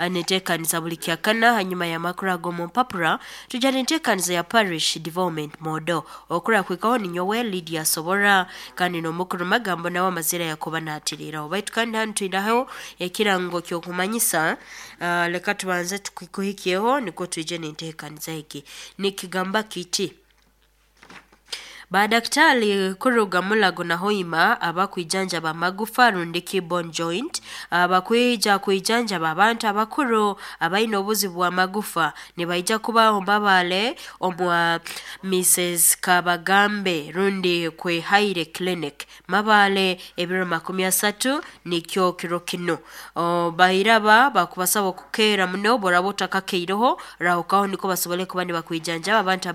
Netekaniza buli kyakana hanyuma y'amakuru ag'omu mpapura tujja nentekaniza ya Parish Development Model. Okura kwikaho ninyowe Lydia Sobora, kandi n'omukuru magambo nawe amazira yakuba natiriraho. Baitu kandi hanu twinaho ekirango ky'okumanyisa. Leka tubanze tukikuhikyeho nikwo twije nentekaniza egi. Nikigamba kiti: Badaktari kuruga Mulago na Hoima abakwijanjaba amagufa rundi bone joint, abakwija kwijanjaba abantu abakuru abaine obuzibu bw'amagufa, nibaija kubaho Mbabale omwa Mrs Kabagambe rundi Kwehaire Clinic Mabale ebiro 30, nikyo kiro kinu. Bairaba bakubasaba okukeera muno. Boraba otakakeireho, rahukaho niko basobole kuba nibakwijanjaba abantu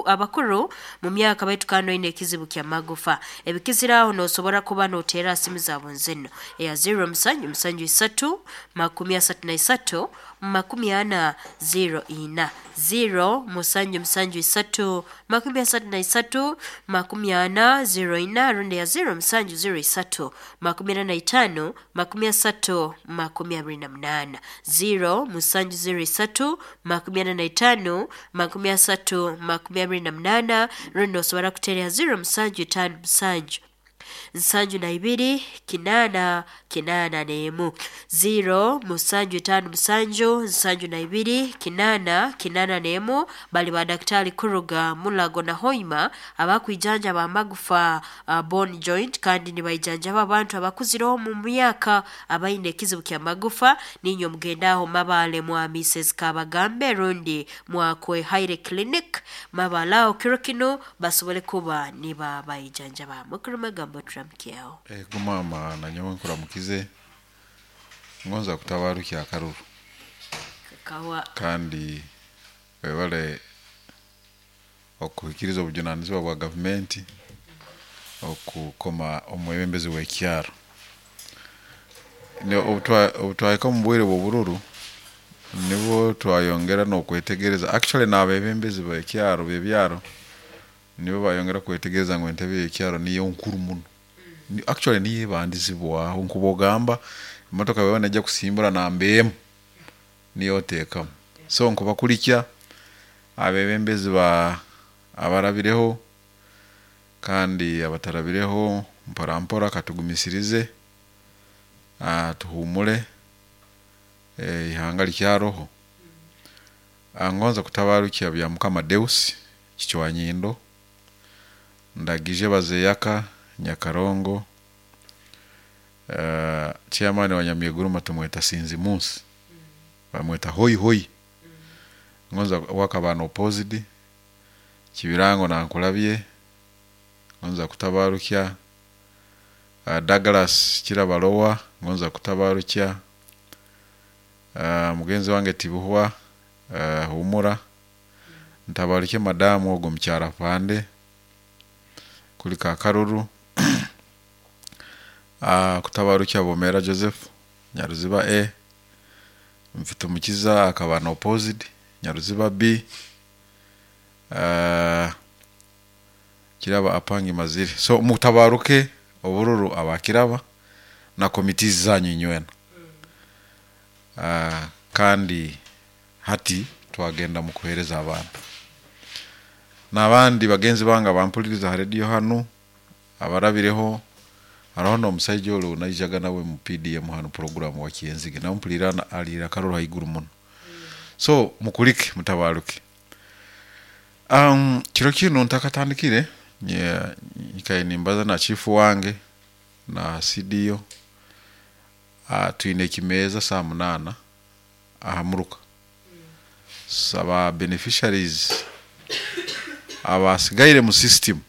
abakuru mu myaka, baitu kandi oine ekizibu ky'amagufa. Ebikiziraho nosobora kuba noteera simu zaabo nzino: eya 0 7 7 3 33 40 04, 0 7 7 3 33 40 04, rundi ya 0 7 03 45 30 28, 0 7 03 45 30 28, rundi nosobora kuteera 0 7 5 7 72 8 81, 0 7 5 7 72 8 81. Bali badaktari kuruga Mulago na Hoima abakwijanjaba amagufa, bone joint, kandi nibaijanjaba abantu abakuzireho mu myaka abaine ekizibu ky'amagufa. Ninywe mugendaho Mabale mwa Mrs Kabagambe rundi mwa Kwehaire Clinic Mabale aho kiro kinu basobole kuba nibabaijanjaba. Mukuru magambo, turamukyeho. Ego maama, nanyowe nkuramukize. Ngonza kutabarukya akaruru. Kawa. Kandi webale okuhikiriza obujunanizibwa bwa gavumenti okukoma omwebembezi w'ekyaro. Obutwahika omu bwire bw'obururu nibwo twayongera n'okwetegereza, actually n'abebembezi b'ekyaro b'ebyaro nibo bayongera kwetegereza ngu entebe y'ekyaro niyo nkuru muno. Actually niyo ebandizibwaho, nkuba ogamba emotoka bweba nejya kusimbura namba emu niyo oteekamu. So nkubakulikya abebembezi ba abarabireho kandi abatarabireho, mpora mpora katugumisirize, tuhumule, ihanga likyaroho. Ngonza kutabarukya Byamukama Deus Kichwanyindo, Ndagije Bazeyaka Nyakarongo, chairman wa Nyamyeguruma tumweta Sinzi Munsi, bamweta Hoi Hoi, ngonza wakaba opposite Kibirango nankulabye. Ngonza kutabarukya Douglas Kirabalowa, ngonza kutabarukya mugenzi wange Tibuhwa, humura ntabarukye madamu ogwo mukyara pande kulika akaruru, kutabarukya Bomera Joseph Nyaruziba A, Mfitumukiza akaba na opposite Nyaruziba B, Kiraba apangi mazire. So mutabaruke obururu abakiraba na committees zanyu inywena. Kandi hati twagenda mu kuhereza abantu n'abandi bagenzi bange abampuliriza ha radio hanu abarabireho. Hariho n'omusaija ori naijaga nawe mu PDM hanu program wa Kyenzige, nampulira alira akaruru haiguru muno. So mukulike, mutabaruke. Kiro kinu ntakatandikire, nyikaire nimbaza na chifu wange na CDO. Twine ekimeeza saa 8 aha muruka. Saba beneficiaries abasigaire mu system,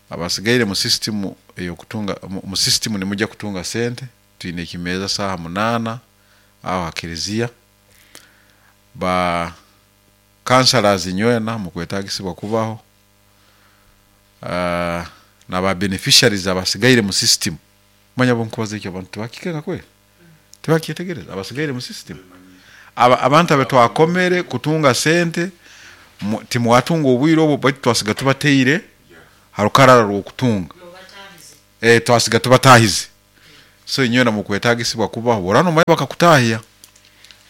abasigaire mu system eyokutunga mu system nimujya kutunga sente. Twine ekimeeza saaha 8 aho ha kereziya. Ba councillors inywena mukwetagisibwa kubaho, na ba beneficiaries abasigaire mu system. Manya bonkubaza ekyo abantu tibakikenga kweli, tibakyetegereza. Abasigaire mu system, abantu abe twakomere kutunga sente, timwatunga obwire obwo, baitu twasiga tubateire harukarara rw'okutunga, twasiga tubatahize. So inywena mukwetagisibwa kubaho, orano mwe bakakutahya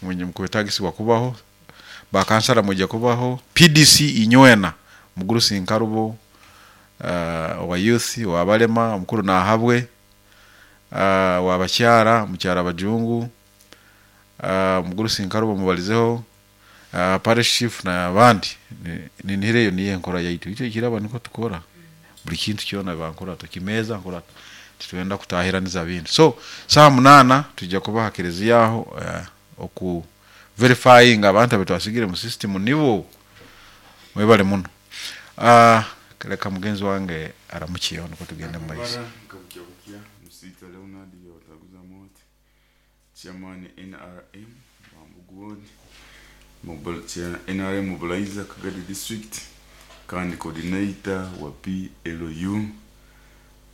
mwenye mukwetagisibwa kubaho, bakansara mwija kubaho, PDC inywena mugurusi nkarubo, owa youth, owabalema omukuru nahabwe, wabakyara mukyara bajungu, omugurusi nkarubo mubalizeho, parish chief n'abandi. Ninihira eyo niyo enkora yaitu, itwe ekiraba niko tukora buli kintu kyona, bankora tukimeza nkora titwenda kutahiraniza bintu. So saa 8 tujja kuba ha kereziya aho, oku verifying abantu abetwasigire mu system nibo. Mwebale muno. Leka mugenzi wange aramukiyeho niko tugende mu maiso. Nkabukya bukya Musita Leonard Yawataguza Moti, chairman NRM Mambugu Ward, NRM mobilizer Kagadi District, kandi coordinator wa PLU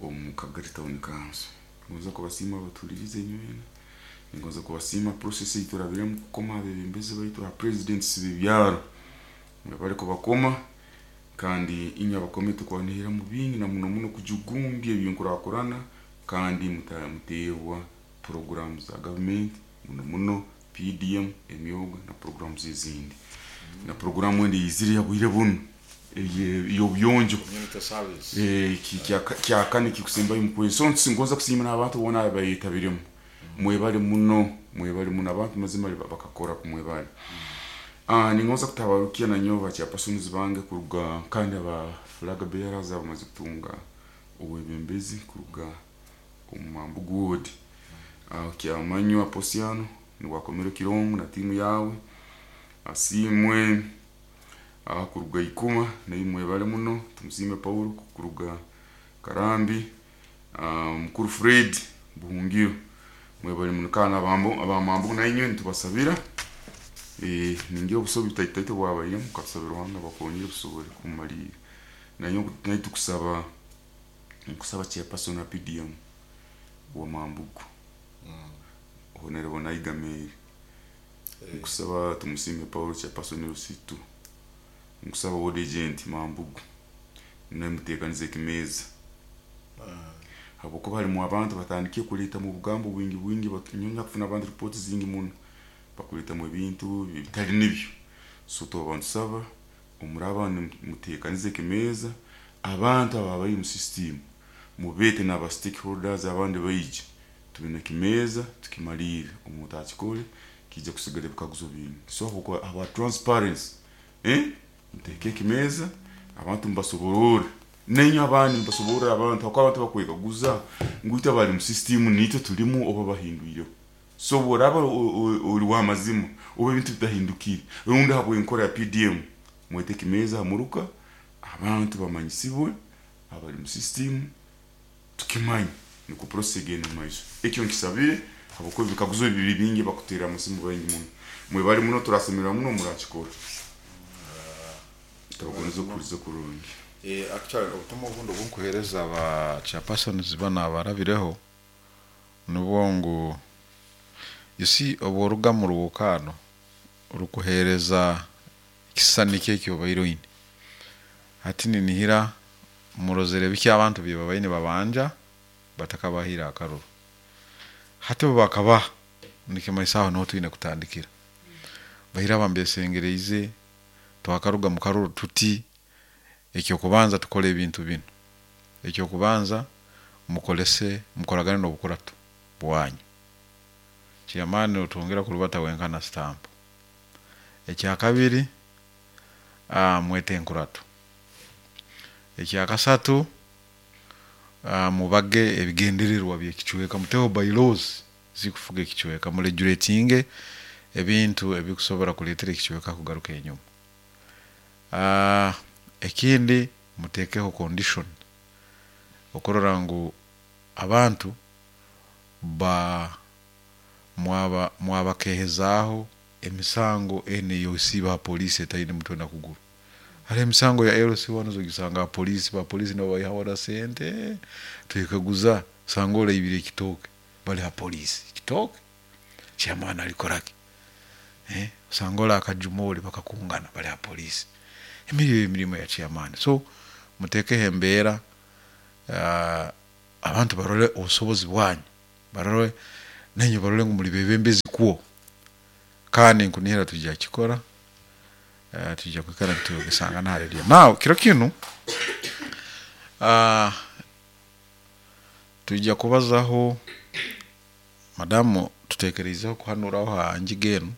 omu Kagadi Town Council. Ngonza kubasiima abatulirize nywena, ngonza kubasiima process eiturabiremu kukoma abebembezi baitu, aba presidents b'ebyaro bari kubakoma, kandi inywe abakome tukwanihira mu bingi na muno muno kujugumbya ebyenkurakurana, kandi muteebwa programu za government, muno muno PDM, emyoga na programu ezindi, na programu endi eyizire ya bwire buno ey'obuyonjo kyakane kikusembayo mukwezi. So ngonza kusiima n'abantu boona abayetabiremu. Mwebale muno, mwebale muno, abantu mazima bakakora kumwebale. Ningonza kutabarukia na nyowe ba chairpersons bange kuruga, kandi aba flag bearers abamaze kutunga obwebembezi kuruga omu Mambugu Ward. Kyamanywa Posiano niwakomero Kirongo na timu yawe, asimwe kuruga Ikuma naye mwebale muno, tumusime Paulo kuruga Karambi, mukuru Fred Buhungiro, mwebale muno. Kana abamambo nainywe nitubasabira, ningira obusobi butaitaito bwabairemu, katusabira Ruhanga bakongere busobole kumalira. Nayo naye tukusaba, nkusaba chairperson wa PDM wa Mambugu, Honorable Naiga Mary, nkusaba tumusime Paulo chairperson Lusitu, nkusaba ward agent Mambugu naye muteekanize ekimeza, habwokuba harimu abantu batandikiye kuleeta mu bugambo bwingi bwingi, nyonya kufuna abantu ripoti zingi muno bakuleetamu ebintu bitali nibyo. So tuba ntusaba omuraba muteekanize ekimeza, abantu aba bari mu system mubete n'aba stakeholders abandi baije tubine ekimeza tukimalire. Omuntu akikole kijja kusigala ebikaguzo bingi. So habwokuba aba transparency, muteeke ekimeza abantu mubasoborore, nenye abandi mubasoborore abantu, habwokuba abantu bakwekaguza ngu itwe abari mu system nitwe tulimu oba bahindwireho. So bworaba ori w'amazima oba ebintu bitahindukire rundi habw'enkora ya PDM, mwete ekimeza hamuruka abantu bamanyisibwe abari mu system, tukimanye niko process egenda mu maiso. Ekyo nkisabire habwokuba ebikaguzo bibiri bingi bakuteera amasimu baingi muno. Mwebale muno, turasemerera muno murakikora, tabagoniza okuhuriza kurungi. Actually obutumwa obundi obunkuheereza aba chairpersons bano abarabireho nubwo ngu, you see, obworuga mu rwokano rukuheereza ekisisani kyekyo obaire oine. Hati ninihira murozere biki abantu bye babaine babanja batakabahire akaruru. Hati bo bakabaha nikimanyisa aho niho twine kutandikira. Bahira bambesengereize twakaruga mu karuru tuti ekyokubanza tukole ebintu binu. Ekyokubanza mukolese mukoragane n'obukurato bwanyu. Chairman otwongera kurubata wenka na stamp. Ekyakabiri, mwete enkurato. Ekyakasatu, mubage ebigendererwa by'ekicweka, muteho bylaws zikufuga ekicweka, muregulatinge ebintu ebikusobora kuleetera ekicweka kugaruka enyuma. Ekindi mutekeho condition okurora ngu abantu ba mwabakehezaaho emisango enu ey'osiiba ha poliisi etaine mutwe na kuguru. Hariho emisango ya LC1 ogisanga ha poliisi, ba poliisi nabo baihaho na sente, twekaguza osanga oraibire ekitooke bali ha poliisi, ekitooke chairman alikoraki? Osanga ori akajumoli bakakungana bali ha poliisi. Emirimu emirimo ya chairman. So mutekeho embeera, abantu barole obusobozi bwanyu. Barole nainywe barole ngu muli bebembezi kwo. Kandi nkunihira tujja kukikora, tujja kwikara nitugesangana ha radio. Now kiro kinu tujja kubazaho, madamu tutekereizeho kuhanuraho ha ngiga enu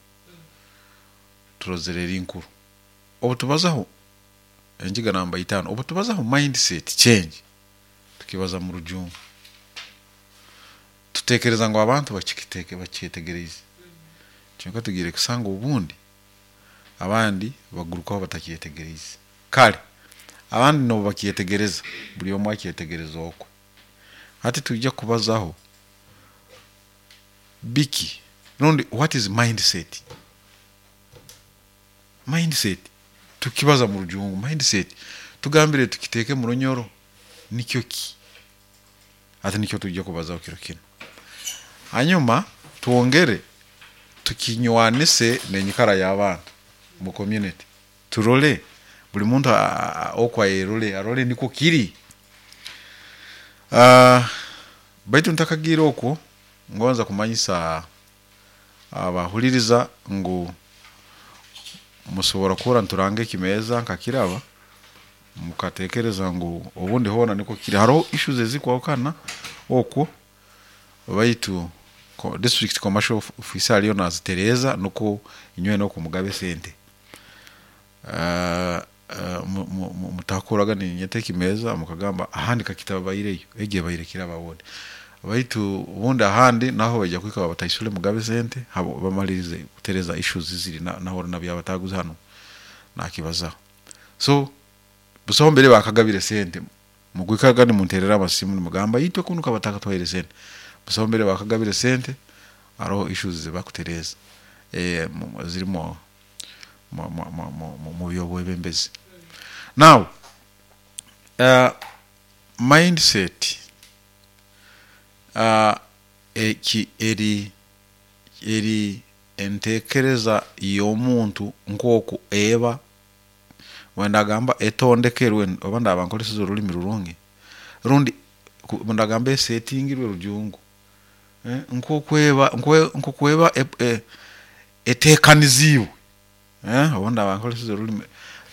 turozere eri nkuru. Obu tubazaho engiga namba 5, obu tubazaho mindset change, tukibaza mu rujungu. Tutekereza ngu abantu bakyetegereize. Kyonka tugiire kusanga obundi abandi bagurukaho batakyetegereize. Kare abandi nobu bakyetegereza, buri omwe akyetegereza okwe. Hati tujja kubazaho biki rundi what is mindset? Mindset tukibaza mu rujungu, mindset tugambire tukiteeke mu runyoro nikyo ki? Hati nikyo tujja kubazaho kiro kinu. Hanyuma twongere tukinywanise n'enyikara y'abantu mu community, turole buli muntu oku ayerole, arole nikwo kiri. Baitu ntakagiire okwo, ngonza kumanyisa abahuliriza ngu musobora kuhurra nituranga ekimeeza nkakiraba, mukatekereza ngu obundi hoona nikwo kiri. Haroho issues ezikwahukana okwo, baitu district commercial officer aliyo nazitereeza nukwo inywe nokwo mugabe sente. Mutakoraga ninyeta ekimeeza mukagamba ahandi kakitabaireyo, egi ebaire kiraba obundi. Baitu obundi ahandi naho baija kuhika babataisule mugabe sente, habo bamalirize kutereza issues ziri naho nabyabataguza hanu nakibazaho. So busaho mbere bakagabire sente, mukwikaraga nimunterera amasimu nimugamba itwe kunu kabatakatwaire sente. Busaho mbere bakagabire sente, haroho issues zibakutereza zirimu mu by'obwebembezi. Now mindset eki eri entekereza y'omuntu nk'oku eba, wendagamba etondekerwe, oba ndaba nkoleseze orulimi rurungi, rundi ndagamba esetingirwe rujungu, nk'oku eba etekaniziibwe, obu ndaba nkoleseze orulimi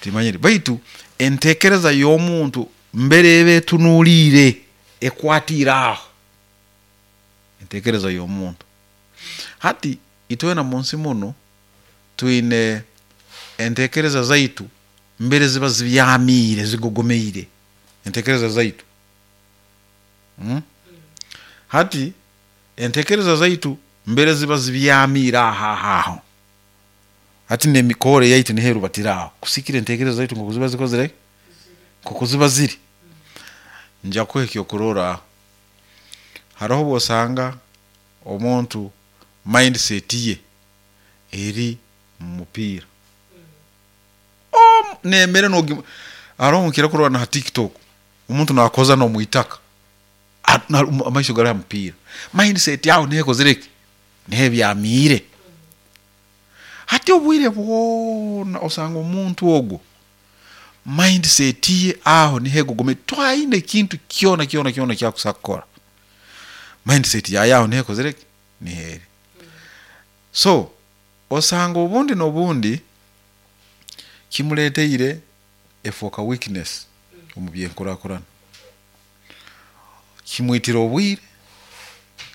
timanyire, baitu entekereza y'omuntu mbere eba etunuliire, ekwatiire aho, entekereza y'omuntu. Hati itwena munsi munu twine entekereza zaitu mbere ziba zibyamiire, zigogomeire, entekereza zaitu. Hati entekereza zaitu mbere ziba zibyamiire aho aho. Hati n'emikoro yaitu niho erubatira aho, kusikira entekereza zaitu nkoku ziba zikozire, nkoku ziba ziri. Nja kuha ekyokurorraho, haroho obu osanga omuntu mindset ye eri mu mupiira. N'emere haroho nkira kurora na ha TikTok, omuntu nakoza n'omwitaka, amaiso gari ha mupiira. Mindset aho niho ekozire ki? Niho ebyamiire. Hati obwire bwona osanga omuntu ogwo mindset ye aho niho egogomeire, taine ekintu kyona kyona kyona ekyakusobola kukora. Mindset yaye aho niho ekozire ki? Niho eri. So osanga obundi n'obundi kimuleteire efooka weakness omu by'enkurakurana. Kimwitira obwire,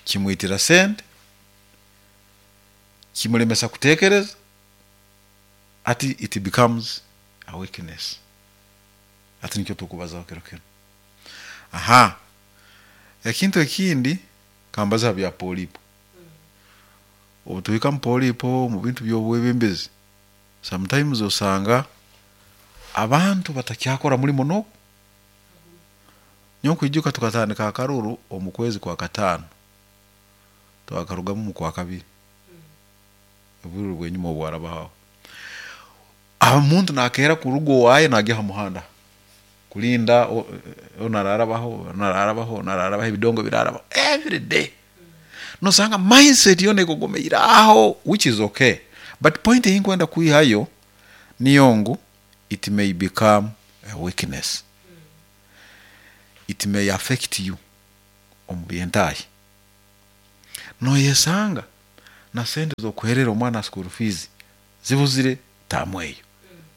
kimwitira sente, kimulemesa kutekereza, hati it becomes a weakness. Hati nikyo tukubazaho kiro kinu. Aha, ekintu ekindi kambaze ha bya polipo. Obu tuhika mu polipo mu bintu by'obwebembezi, sometimes osanga abantu batakyakora mulimo n'ogu. Nyowe nkwijuka tukatandika akaruru omu kwezi kwa 5, twakarugamu mu kwa 2, obwire obw'enyuma obwarabaho aho. Omuntu nakeera kuruga owaaye nagya ha muhanda kulinda onu ararabaho, onu ararabaho, onu ararabaho, ebidongo birarabaho every day. Nosanga mindset yoona egogomeire aho, which is okay, but point ei nkwenda kwihayo niyo ngu it may become a weakness. It may affect you omu by'entaahi. Noyesanga na sente z'okuherera omwana school fees zibuzire taamu eyo,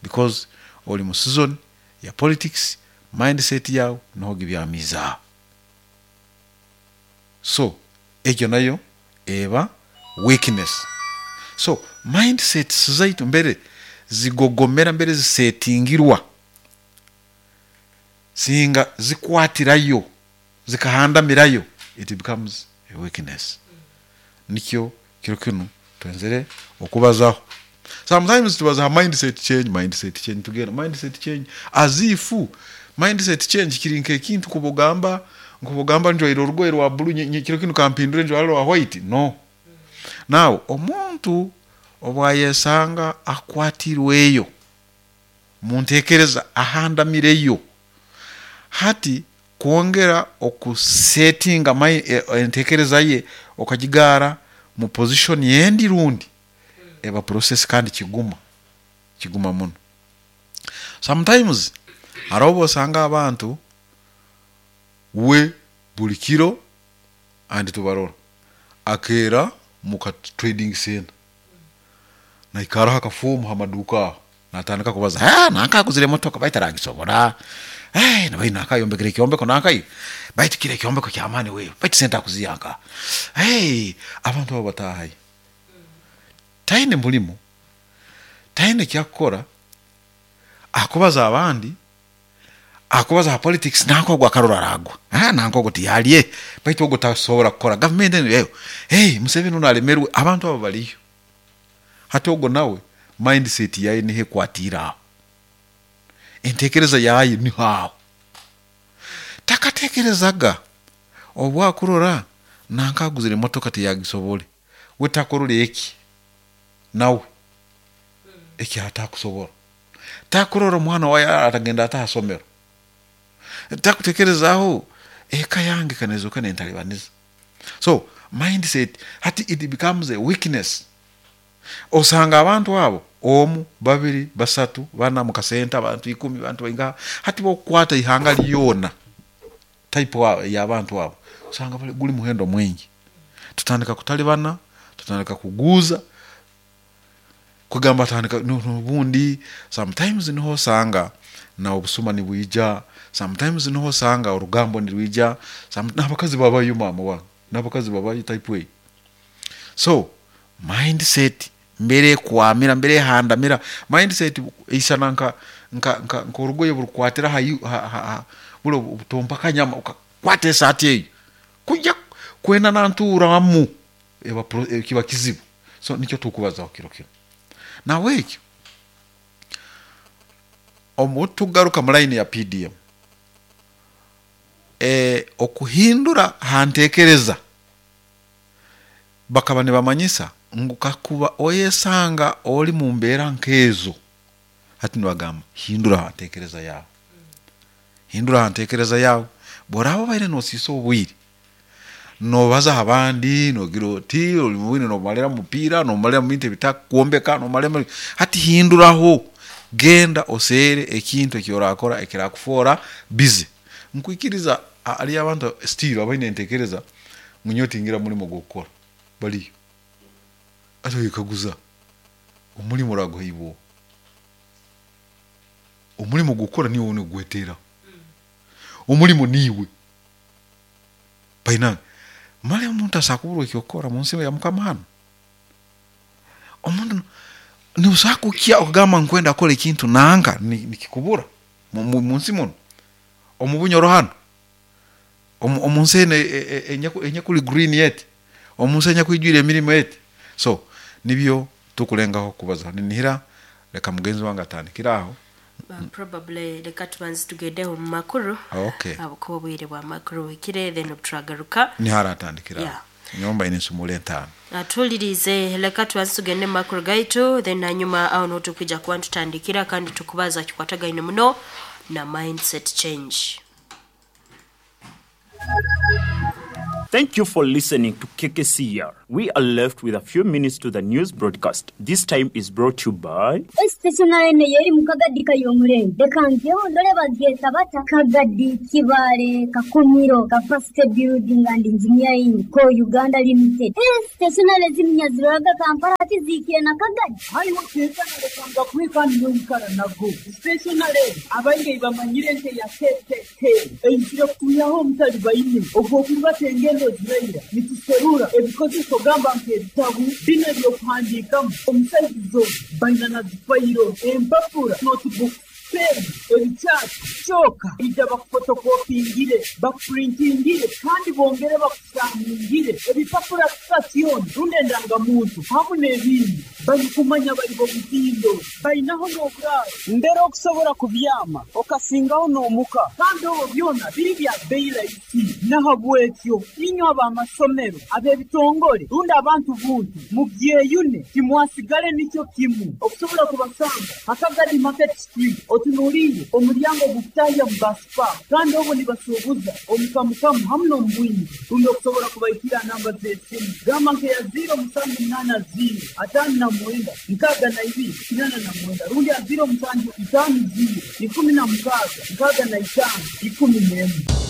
because oli mu season ya politics, mindset yawe niho gibyamize aho. So egyo nayo eba weakness. So mindsets zaitu mbere zigogomera, mbere zisetingirwa, singa zikwatirayo zikahandamirayo, it becomes a weakness. Nikyo kiro kinu twenzere okubazaho. Sometimes tubaza mindset change, mindset change, tugenda mindset change as if mindset change kiri nk'ekintu kubugamba nkubugamba njwaire orugoye rwa blue, kiro kinu kampindure njwara rwa white. No. Now omuntu obwayesanga akwatirweyo muntekereza ahandamireyo, hati kwongera okusetinga entekereza ye okagigara mu position yendi rundi eba process, kandi kiguma muno. Sometimes hariho obu osanga abantu we buli kiro andi tubarora akeera muka trading center naikaraho akafomu ha maduka aho, natandika kubaza, nanka aguzire emotoka baitu aragisobora, nabai nakayombekere ekyombeko nankai baitu kiri ekyombeko kyamaani we baitu sente akuziha nka. Abantu abo batahayo, taine mulimo, taine kyakukora, akubaza abandi, akubaza ha politics, nanka ogwo akarora aragwa, nanka ogwo tiyalye baitu ogwo tasobora kukora gavumenti enu eyo, Museveni ono alemerwe. Abantu abo baliyo hati, ogwo nawe mindset yaye niho ekwatiire aho, entekereza yaye niho aho, takatekerezaga obu akurora nanka aguzire emotoka tiyagisobole, we takurora eki nawe eki atakusobora, takurora omwana waye atagenda ata ha somero, takutekerezaho eka yange kanezoka nentalibaniza. So mindset hati it becomes a weakness. Osanga abantu abo omu, babiri, basatu, bana mukasenta, abantu 10, abantu baingaha, hati bokukwata ihanga lyona type y'abantu abo osanga guli muhendo mwingi. Tutandika kutalibana, tutandika kuguza, kugamba tandika n'obundi sometimes niho osanga na obusuma nibwija, sometimes niho osanga orugambo nirwija, n'abakazi babayo, mama wange, n'abakazi babayo type eyo. So mindset mbere ekwamira, mbere ehandamira, mindset eisana nka nka nka nk'orugoye burukukwatira ha bulo butompa kanyama, ukakwata esaati eyo kujya kwenda nanturamu eba kiba kizibu. So nikyo tukubazaho kiro kinu. Nawe ekyo obu tugaruka mu line ya PDM, okuhindura ha ntekereza, bakaba nibamanyisa ngu kakuba oyesanga oli mu mbeera nk'ezo, hati nibagamba hindura ha ntekereza yawe, hindura ha ntekereza yawe. Bw'oraaba obaire noosiisa obwire nobaza abandi, nogira oti oli mubwire nomalira mu mupiira, nomalira mu bintu ebitakwombeka, nomalira, hati hinduraho, genda oseere ekintu eki orakora ekirakufoora busy. Nkwikiriza hariyo abantu still abaine entekereza ngu nyowe tingira mulimo gw'okukora, baliyo. Ati oyekaguza omulimo oraguhaibwa oha? Omulimo gw'okukora niiwe nigweteraho, omulimo niiwe bainange. Mali omuntu asobola kuburwa eky'okukora munsi ya Mukama hanu? Omuntu nosobola kukya okugamba nkwenda kukora ekintu nanka nikikubura munsi muno, omu Bunyoro hanu, omu nsi enu enyakuli green eti, omu nsi enyakwijwire emirimo eti. So nibyo tukulengaho kubaza. Ninihira leka mugenzi wange atandikire aho. Probably leka tubanze tugendeho mu makuru. Okay. Ahabwokuba obwire bwa makuru buhikire, then obuturagaruka niho aratandikira aho. Yeah. Nyomba ine ensumura 5. Atulirize, leka tubanze tugende mu makuru gaitu, then hanyuma aho niho tukwija kuba nitutandikira kandi tukubaza kikwatagaine muno na mindset change. Thank you for listening to KKCR. We are left with a few minutes to the news broadcast. This time is brought to you by Stationary yeri mu Kagadi kayomurenge reka ngeho ndore babyeta bata Kagadi Kibale Kakumiro Capacity Building and Engineering ko Uganda Limited. Stationary ziminyaziraga Kampala tizikire na Kagadi hariho kekana kwikani n'omukara nago stationary abaingi bamanyire nte ya KKK eizire kutuyaho omutali baine ogw'okurubata engendo ziraira nituserura ebikozeso gamba nk'ebitabu bino ebyokuhandiikamu omusaizizo baina na zifayiro empapura notebook pen ebikyati kyoka ija bakufotokopingire bakupurintingire kandi bongere bakusaningire ebipapura sitasioni rundi endangamuntu hamu n'ebindi barikumanya bari bomutindo bainaho n'oburaaro mbere okusobora kubyama okasingaho n'omuka kandi obwo byona biri bya bei rahisi nahabwekyo inywe ab'amasomero ab'ebitongore rundi abantu buntu mubyeyune timwasigale nikyo kimu okusobola kubasanga Akagadi Market Street otunuliire omulyango gukutahya mu basipa kandi obwo nibasuubuza omukamukamu hamu n'omubwingi rundi okusobola kubaikira namba z'esimu gamba nkeya 0780 59 62 89 rundi ya 0750 16 65 11.